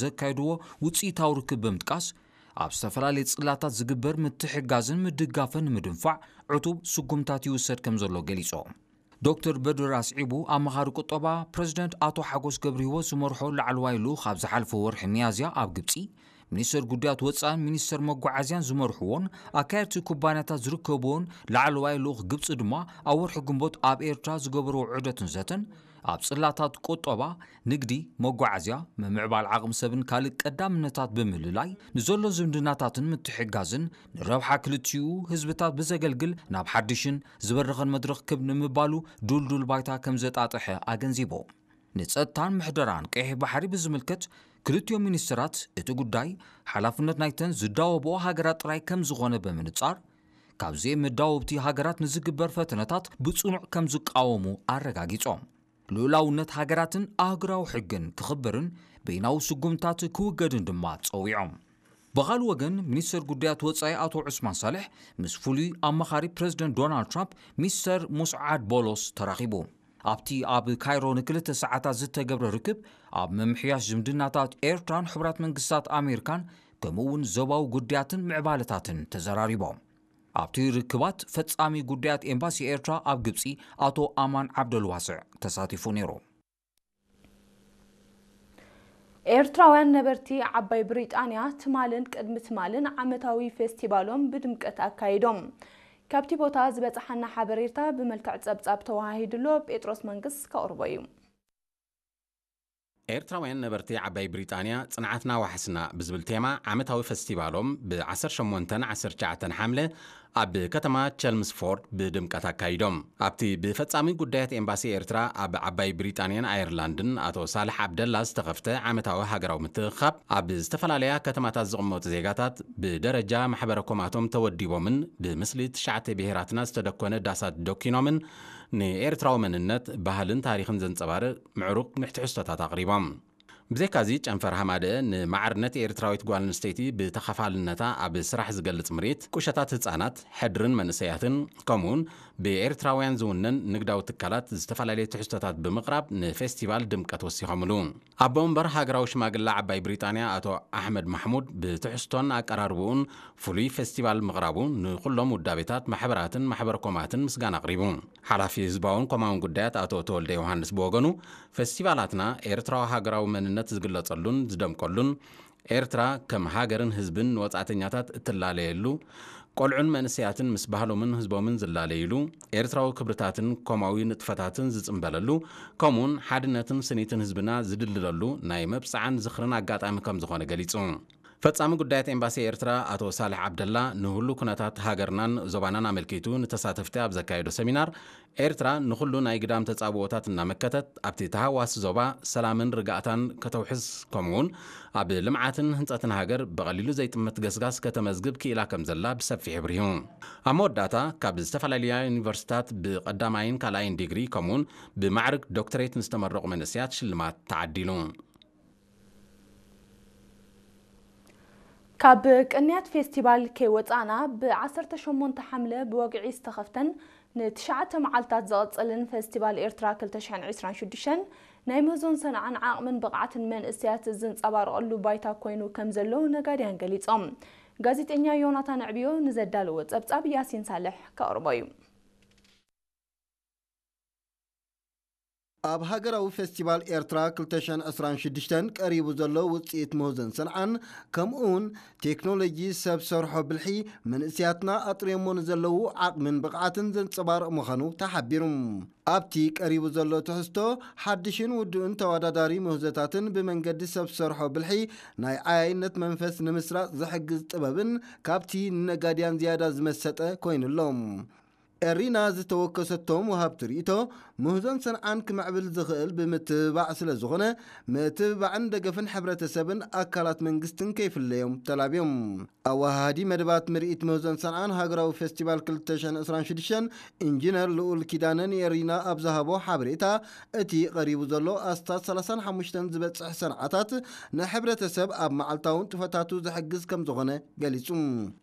ዘካየድዎ ውፅኢታዊ ርክብ ብምጥቃስ፣ ኣብ ዝተፈላለየ ፅላታት ዝግበር ምትሕጋዝን ምድጋፍን ንምድንፋዕ ዕቱብ ስጉምታት ይውሰድ ከም ዘሎ ገሊፆም። ዶክተር በድር ኣስዒቡ፣ ኣማኻሪ ቁጠባ ፕረዚደንት ኣቶ ሓጎስ ገብረሂወት ዝመርሖ ላዕለዋይ ልኡኽ ኣብ ዝሓለፈ ወርሒ ሚያዝያ ኣብ ግብፂ፣ ሚኒስተር ጉዳያት ወፃእን ሚኒስተር መጓዓዝያን ዝመርሕዎን ኣካየድቲ ኩባንያታት ዝርከብዎን ላዕለዋይ ልኡኽ ግብፂ ድማ ኣብ ወርሒ ግንቦት ኣብ ኤርትራ ዝገበርዎ ዑደትን ዘተን ኣብ ጽላታት ቁጠባ፣ ንግዲ፣ መጓዓዝያ፣ ምምዕባል ዓቕሚ ሰብን ካልእ ቀዳምነታት ብምልላይ፣ ንዘሎ ዝምድናታትን ምትሕግጋዝን ንረብሓ ክልቲኡ ህዝብታት ብዘገልግል ናብ ሓድሽን ዝበረኸን መድረኽ ክብ ንምባሉ ድልዱል ባይታ ከም ዘጣጥሐ ኣገንዚቡ። ንጸጥታን ምሕደራን ቀይሕ ባሕሪ ብዝምልከት፣ ክልቲኦም ሚኒስትራት እቲ ጉዳይ ሓላፍነት ናይተን ዝዳወብኦ ሃገራት ጥራይ ከም ዝኾነ ብምንጻር፣ ካብዚኤን መዳወብቲ ሃገራት ንዝግበር ፈተነታት ብጽኑዕ ከም ዝቃወሙ ኣረጋጊጾም። ልኡላውነት ሃገራትን ኣህጉራዊ ሕግን ክኽበርን በይናዊ ስጉምታት ክውገድን ድማ ጸዊዖም። ብኻልእ ወገን፣ ሚኒስተር ጉዳያት ወጻኢ ኣቶ ዑስማን ሳልሕ ምስ ፍሉይ ኣማኻሪ ፕረዚደንት ዶናልድ ትራምፕ ሚስተር ሙስዓድ ቦሎስ ተራኺቡ። ኣብቲ ኣብ ካይሮ ንክልተ ሰዓታት ዝተገብረ ርክብ፣ ኣብ ምምሕያሽ ዝምድናታት ኤርትራን ሕቡራት መንግስታት ኣሜሪካን ከምኡ እውን ዞባዊ ጉዳያትን ምዕባለታትን ተዘራሪቦም። ኣብቲ ርክባት ፈጻሚ ጉዳያት ኤምባሲ ኤርትራ ኣብ ግብጺ ኣቶ ኣማን ዓብደልዋስዕ ተሳቲፉ ነይሩ። ኤርትራውያን ነበርቲ ዓባይ ብሪጣንያ ትማልን ቅድሚ ትማልን ዓመታዊ ፌስቲቫሎም ብድምቀት ኣካይዶም። ካብቲ ቦታ ዝበጽሓና ሓበሬታ ብመልክዕ ጸብጻብ ተወሃሂዱ ኣሎ፣ ጴጥሮስ መንግስ ከቕርቦ እዩ። ኤርትራውያን ነበርቲ ዓባይ ብሪጣንያ ጽንዓትና ዋሕስና ብዝብል ቴማ ዓመታዊ ፈስቲቫሎም ብ ዓሰርተ ሸሞንተን ዓሰርተ ትሽዓተን ሓምለ ኣብ ከተማ ቸልምስፎርድ ብድምቀት ኣካይዶም። ኣብቲ ብፈጻሚ ጉዳያት ኤምባሲ ኤርትራ ኣብ ዓባይ ብሪጣንያን ኣየርላንድን ኣቶ ሳልሕ ዓብደላ ዝተኸፍተ ዓመታዊ ሃገራዊ ምትእኽኻብ፣ ኣብ ዝተፈላለያ ከተማታት ዝቕመጡ ዜጋታት ብደረጃ ማሕበረ ኮማቶም ተወዲቦምን ብምስሊ ትሽዓተ ብሄራትና ዝተደኮነ ዳሳት ደኪኖምን ንኤርትራዊ መንነት፣ ባህልን ታሪኽን ዘንጸባርቕ ምዕሩግ ምሕትሕዝቶታት ኣቕሪቦም። ብዘይካዚ ጨንፈር ሃማደአ ንማዕርነት ኤርትራዊት ጓል ኣንስተይቲ ብተኻፋልነታ ኣብ ስራሕ ዝገልጽ ምርኢት፣ ቁሸታት ህጻናት፣ ሕድርን መንእሰያትን፣ ከምኡውን ብኤርትራውያን ዝውነን ንግዳዊ ትካላት ዝተፈላለዩ ትሕዝቶታት ብምቕራብ ንፌስቲቫል ድምቀት ወሲኾምሉ። ኣቦ መንበር ሃገራዊ ሽማግለ ዓባይ ብሪጣንያ ኣቶ ኣሕመድ ማሕሙድ ብትሕዝቶን ኣቀራርብኡን ፍሉይ ፌስቲቫል ምቕራቡ ንኹሎም ውዳቤታት፣ ማሕበራትን ማሕበረ ኮማትን ምስጋና ኣቕሪቡ። ሓላፊ ህዝባውን ኮማውን ጉዳያት ኣቶ ተወልደ ዮሃንስ ብወገኑ፣ ፈስቲቫላትና ኤርትራዊ ሃገራዊ መንነት ዝግለጸሉን ዝደምቀሉን፣ ኤርትራ ከም ሃገርን ህዝብን ንወጻእተኛታት እትላለየሉ፣ ቆልዑን መንእሰያትን ምስ ባህሎምን ህዝቦምን ዝላለይሉ፣ ኤርትራዊ ክብርታትን ኮማዊ ንጥፈታትን ዝጽምበለሉ፣ ከምኡውን ሓድነትን ስኒትን ህዝብና ዝድልደለሉ ናይ መብጽዓን ዝኽርን ኣጋጣሚ ከም ዝኾነ ገሊጹ። ፈጻሚ ጉዳያት ኤምባሲ ኤርትራ ኣቶ ሳልሕ ዓብደላ ንህሉ ኩነታት ሃገርናን ዞባናን ኣመልኪቱ ንተሳተፍቲ ኣብ ዘካየዶ ሰሚናር፣ ኤርትራ ንኹሉ ናይ ግዳም ተጻብኦታት እናመከተት ኣብቲ ተሃዋሲ ዞባ ሰላምን ርግኣታን ከተውሕስ፣ ከምኡውን ኣብ ልምዓትን ህንጸትን ሃገር ብቐሊሉ ዘይጥምት ገስጋስ ከተመዝግብ ክኢላ ከም ዘላ ብሰፊሑ ኣብሪሁ። ኣብ መወዳእታ፣ ካብ ዝተፈላለያ ዩኒቨርሲታት ብቐዳማይን ካልኣይን ዲግሪ ከምኡውን ብማዕርግ ዶክተሬት ንዝተመረቑ መንእሰያት ሽልማት ተዓዲሉ። ካብ ቅንያት ፌስቲቫል ከይወጻእና፣ ብ ዓሰርተ ሸሞንተ ሓምለ ብወግዒ ዝተኸፍተን ንትሽዓተ መዓልታት ዝቕጽልን ፌስቲቫል ኤርትራ ክልተ ሽሕን ዕስራን ሽዱሽተን ናይ ምህዞን ሰንዓን ዓቕምን ብቕዓትን መንእሰያት ዝንጸባረቐሉ ባይታ ኮይኑ ከም ዘሎ ነጋድያን ገሊጾም። ጋዜጠኛ ዮናታን ኣዕብዮ ንዘዳለዎ ጸብጻብ ያሲን ሳልሕ ከቕርቦ እዩ። ኣብ ሃገራዊ ፌስቲቫል ኤርትራ ክልተ ሽሕን ዕስራን ሽዱሽተን ቀሪቡ ዘሎ ውጽኢት ምህዞን ሰንዓን፣ ከምኡውን ቴክኖሎጂ ሰብ ሰርሖ ብልሒ መንእሰያትና ኣጥርዮሞ ንዘለዉ ዓቕምን ብቕዓትን ዘንጸባርቕ ምዃኑ ተሓቢሩ። ኣብቲ ቀሪቡ ዘሎ ትሕዝቶ፣ ሓድሽን ውዱእን ተወዳዳሪ ምህዞታትን ብመንገዲ ሰብ ሰርሖ ብልሒ ናይ ዓያይነት መንፈስ ንምስራጽ ዝሕግዝ ጥበብን ካብቲ ንነጋድያን ዝያዳ ዝመሰጠ ኮይኑ ኣሎ። ኤሪና ዝተወከሰቶም ወሃብቲ ርእይቶ፣ ምህዞን ሰንዓን ክምዕብል ዝኽእል ብምትብባዕ ስለ ዝኾነ፣ ምትብባዕን ደገፍን ሕብረተሰብን ኣካላት መንግስትን ከይፍለዮም ተላብዮም። ኣወሃሃዲ መደባት ምርኢት ምህዞን ሰንዓን ሃገራዊ ፌስቲቫል ክልተ ሽሕን ዕስራን ሽዱሽተን ኢንጂነር ልኡል ኪዳነ ንኤሪና ኣብ ዝሃቦ ሓበሬታ፣ እቲ ቀሪቡ ዘሎ ኣስታት ሰላሳን ሓሙሽተን ዝበጽሕ ሰንዓታት ንሕብረተሰብ ኣብ መዓልታዊ ንጥፈታቱ ዝሕግዝ ከም ዝኾነ ገሊጹ።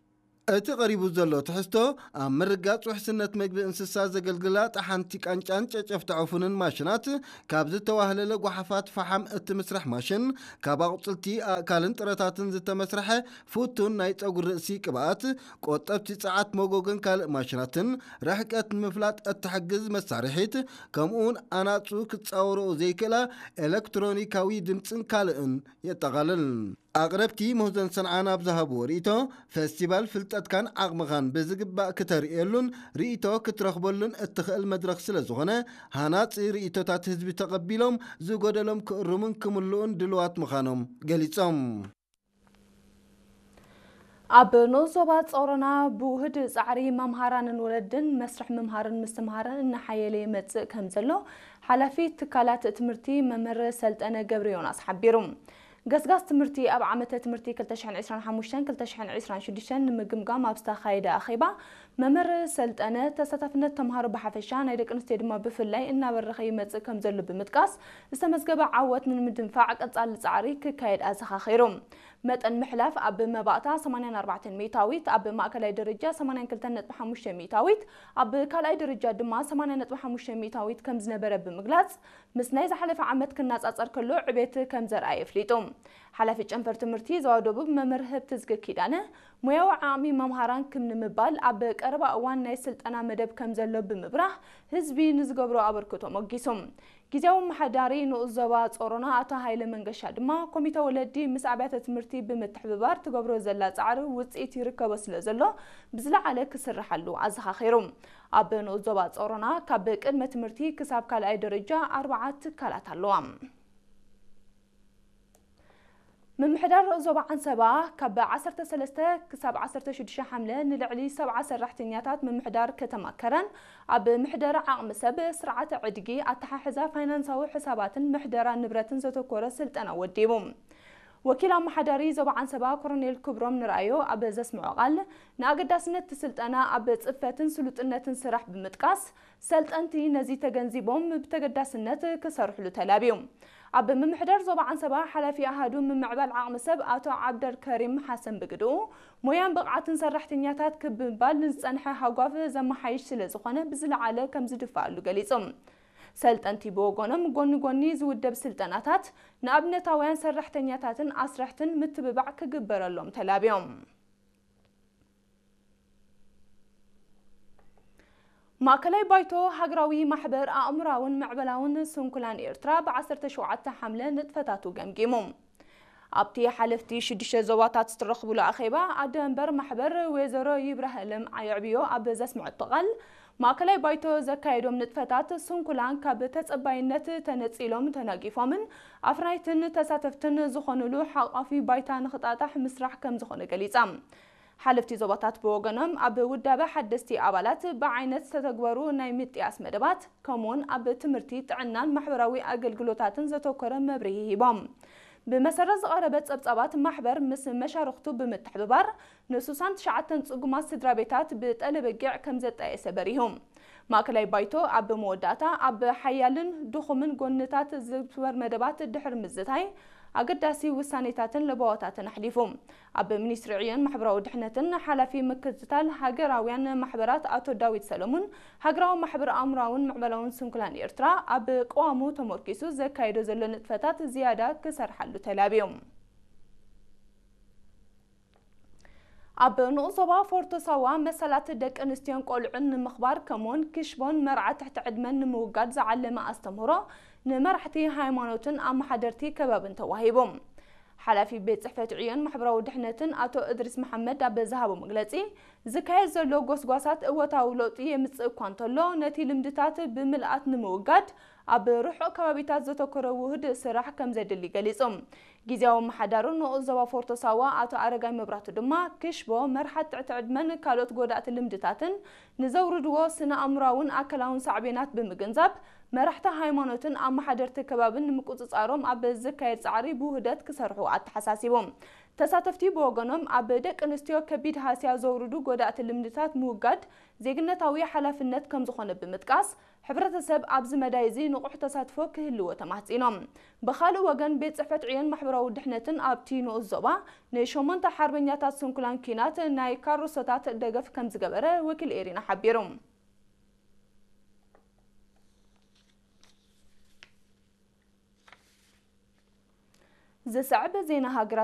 እቲ ቀሪቡ ዘሎ ትሕዝቶ፣ ኣብ ምርጋጽ ውሕስነት መግቢ እንስሳ ዘገልግላ ጠሓንቲ ቃንጫን ጨጨፍቲ ዕፉንን ማሽናት፣ ካብ ዝተዋህለለ ጓሓፋት ፈሓም እትምስራሕ ማሽን፣ ካብ ኣቑጽልቲ፣ ኣእካልን ጥረታትን ዝተመስርሐ ፍቱን ናይ ጸጉሪ ርእሲ ቅብኣት፣ ቆጠብቲ ጸዓት መጎጎን ካልእ ማሽናትን፣ ርሕቀት ንምፍላጥ እትሕግዝ መሳርሒት፣ ከምኡውን ኣናጹ ክጻወርኦ ዘይክእላ ኤሌክትሮኒካዊ ድምጽን ካልእን የጠቓልል። ኣቕረብቲ ምህዞን ሰንዓ ኣብ ዝሃብዎ ርእይቶ፣ ፈስቲቫል ፍልጠትካን ዓቕምኻን ብዝግባእ ክተርእየሉን ርእይቶ ክትረኽበሉን እትኽእል መድረኽ ስለ ዝኾነ፣ ሃናጺ ርእይቶታት ህዝቢ ተቐቢሎም ዝጎደሎም ክእርሙን ክምልኡን ድልዋት ምዃኖም ገሊጾም። ኣብ ንኡስ ዞባ ጾሮና ብውህድ ጻዕሪ መምሃራንን ወለድን መስርሕ ምምሃርን ምስትምሃርን እናሓየለ ይመጽእ ከም ዘሎ ሓላፊ ትካላት ትምህርቲ መምህር ሰልጠነ ገብረ ዮናስ ሓቢሩ። ገስጋስ ትምህርቲ ኣብ ዓመተ ትምህርቲ ክልተ ሽሕን ዕስራን ሓሙሽተን ክልተ ሽሕን ዕስራን ሽዱሽተን ንምግምጋም ኣብ ዝተኻየደ ኣኼባ፣ መምህር ሰልጠነ፣ ተሳታፍነት ተምሃሮ ብሓፈሻ ናይ ደቂ ኣንስትዮ ድማ ብፍላይ እናበረኸ ይመጽእ ከም ዘሎ ብምጥቃስ፣ ዝተመዝገበ ዓወት ንምድንፋዕ ቀጻሊ ጻዕሪ ክካየድ ኣዘኻኺሩ። መጠን ምሕላፍ ኣብ መባእታ ሰማንያን ኣርባዕተን ሚእታዊት፣ ኣብ ማእከላይ ደረጃ ሰማንያን ክልተን ነጥቢ ሓሙሽተ ሚእታዊት፣ ኣብ ካልኣይ ደረጃ ድማ ሰማንያ ነጥቢ ሓሙሽተ ሚእታዊት ከም ዝነበረ ብምግላጽ፣ ምስ ናይ ዝሓለፈ ዓመት ክነጻጸር ከሎ ዕቤት ከም ዘርኣየ ኣፍሊጡ። ሓላፊ ጨንፈር ትምህርቲ ዞባ ደቡብ መምህር ህብትዝጊ ኪዳነ፣ ሞያዊ ዓቕሚ መምሃራን ክብ ንምባል ኣብ ቀረባ እዋን ናይ ስልጠና መደብ ከም ዘሎ ብምብራህ፣ ህዝቢ ንዝገብሮ ኣበርክቶ ሞጊሱ። ግዝያዊ ኣመሓዳሪ ንኡስ ዞባ ጾሮና ኣቶ ሃይለ መንገሻ ድማ፣ ኮሚተ ወለዲ ምስ ኣብያተ ትምህርቲ ብምትሕብባር ትገብሮ ዘላ ጻዕሪ ውጽኢት ይርከቦ ስለ ዘሎ፣ ብዝለዓለ ክስርሓሉ ኣዘኻኺሩ። ኣብ ንኡስ ዞባ ጾሮና ካብ ቅድመ ትምህርቲ ክሳብ ካልኣይ ደረጃ ኣርብዓ ትካላት ኣለዋ። ምምሕዳር ዞባ ዓንሰባ ካብ ዓሰርተ ሰለስተ ክሳብ ዓሰርተ ሽዱሽተ ሓምለ ንልዕሊ ሰብዓ ሰራሕተኛታት ምምሕዳር ከተማ ከረን ኣብ ምሕደራ ዓቕሚ ሰብ፣ ስርዓተ ዕድጊ፣ ኣተሓሕዛ ፋይናንሳዊ ሕሳባትን ምሕደራ ንብረትን ዘተኮረ ስልጠና ወዲቡ። ወኪል ኣመሓዳሪ ዞባ ዓንሰባ ኮሮኔል ክብሮም ንርኣዮ ኣብ ዘስምዖ ቃል፣ ንኣገዳስነት እቲ ስልጠና ኣብ ጽፈትን ስሉጥነትን ስራሕ ብምጥቃስ፣ ሰልጠንቲ ነዚ ተገንዚቦም ብተገዳስነት ክሰርሕሉ ተላብዩ። ኣብ ምምሕዳር ዞባ ዓንሰባ ሓላፊ ኣሃዱ ምምዕባል ዓቕሚ ሰብ ኣቶ ዓብደል ከሪም ሓሰን ብግድኡ፣ ሞያን ብቕዓትን ሰራሕተኛታት ክብ ምባል ንዝጸንሐ ሃጓፍ ዘመሓይሽ ስለ ዝኾነ ብዝለዓለ ከም ዝድፋኣሉ ገሊጹ። ሰልጠንቲ ብወገኖም፣ ጎኒ ጎኒ ዝውደብ ስልጠናታት ንኣብነታውያን ሰራሕተኛታትን ኣስረሕትን ምትብባዕ ክግበረሎም ተላብዮም። ማእከላይ ባይቶ ሃገራዊ ማሕበር ኣእምራውን ምዕበላውን ስንኩላን ኤርትራ ብ ዓሰርተ ሸውዓተ ሓምለ ንጥፈታቱ ገምጊሙ። ኣብቲ ሓለፍቲ ሽዱሽተ ዞባታት ዝተረኽብሉ ኣኼባ፣ ኣደ መንበር ማሕበር ወይዘሮ ይብራሃለም የዕብዮ ኣብ ዘስምዐቶ ቃል፣ ማእከላይ ባይቶ ዘካየዶም ንጥፈታት ስንኩላን ካብ ተጸባይነት ተነጺሎም ተናጊፎምን ኣፍራይትን ተሳተፍትን ዝኾኑሉ ሓቋፊ ባይታ ንኽጣጣሕ ምስራሕ ከም ዝኾነ ገሊጻ። ሓለፍቲ ዞባታት ብወገኖም፣ ኣብ ውዳበ ሓደስቲ ኣባላት ብዓይነት ዝተተግበሩ ናይ ምጥያስ መደባት፣ ከምኡውን ኣብ ትምህርቲ፣ ጥዕናን ማሕበራዊ ኣገልግሎታትን ዘተኮረ መብርሂ ሂቦም። ብመሰረት ዝቐረበ ጸብጻባት፣ ማሕበር ምስ መሻርኽቱ ብምትሕብባር ንስሳን ትሽዓተን ጽጉማት ስድራ ቤታት ብጠለበጊዕ ከም ዘጣየሰ በሪሁ። ማእከላይ ባይቶ ኣብ መወዳእታ፣ ኣብ ሓያልን ድኹምን ጎንታት ዝግበር መደባት ድሕሪ ምዝታይ፣ ኣገዳሲ ውሳኔታትን ለበዋታትን ኣሕሊፉ። ኣብ ሚኒስትሪ ዕዮን ማሕበራዊ ድሕነትን ሓላፊ ምክትታል ሃገራውያን ማሕበራት ኣቶ ዳዊት ሰለሙን፣ ሃገራዊ ማሕበር ኣእምራውን ምዕበላውን ስንኩላን ኤርትራ፣ ኣብ ቅዋሙ ተመርኪሱ ዘካየዶ ዘሎ ንጥፈታት ዝያዳ ክሰርሓሉ ተላብዮም። ኣብ ንኡስ ዞባ ፎርቶ ሳዋ መሰላት ደቂ ኣንስትዮን ቆልዑን ንምኽባር፣ ከምኡውን ክሽቦን መርዓ ትሕቲ ዕድመን ንምውጋድ ዝዓለመ ኣስተምህሮ ንመራሕቲ ሃይማኖትን ኣመሓደርቲ ከባብን ተዋሂቡ። ሓላፊ ቤት ጽሕፈት ዕዮን ማሕበራዊ ድሕነትን ኣቶ እድሪስ መሓመድ ኣብ ዝሃቦ መግለጺ፣ ዝካየድ ዘሎ ጎስጓሳት እወታዊ ለውጢ የምጽእ እኳ እንተሎ፣ ነቲ ልምድታት ብምልኣት ንምውጋድ ኣብ ርሑቕ ከባቢታት ዘተኮረ ውህድ ስራሕ ከም ዘድሊ ገሊጹ። ግዝያዊ ኣመሓዳሪ ንኡስ ዞባ ፎርቶ ሳዋ ኣቶ ኣረጋይ መብራቱ ድማ፣ ክሽቦ፣ መርሓት ትሕቲ ዕድመን ካልኦት ጎዳእቲ ልምድታትን ንዘውርድዎ ስነ ኣእምራውን ኣካላውን ሳዕቤናት ብምግንዛብ፣ መራሕቲ ሃይማኖትን ኣመሓደርቲ ከባብን ንምቁጽጻሮም ኣብ ዝካየድ ጻዕሪ ብውህደት ክሰርሑ ኣተሓሳሲቡ። ተሳተፍቲ ብወገኖም ኣብ ደቂ ኣንስትዮ ከቢድ ሃስያ ዘውርዱ ጎዳእቲ ልምድታት ምውጋድ ዜግነታዊ ሓላፍነት ከም ዝኾነ ብምጥቃስ፣ ሕብረተሰብ ኣብዚ መዳይ እዚ ንቑሕ ተሳትፎ ክህልዎ ተማሕጺኖም። ብኻልእ ወገን፣ ቤት ጽሕፈት ዕዮን ማሕበራዊ ድሕነትን ኣብቲ ንኡስ ዞባ ንሸሞንተ ሓርበኛታት ስንኩላን ኲናት ናይ ካሮሶታት ደገፍ ከም ዝገበረ ወኪል ኤሪና ሓቢሩ። ዝስዕብ ዜና ሃገራት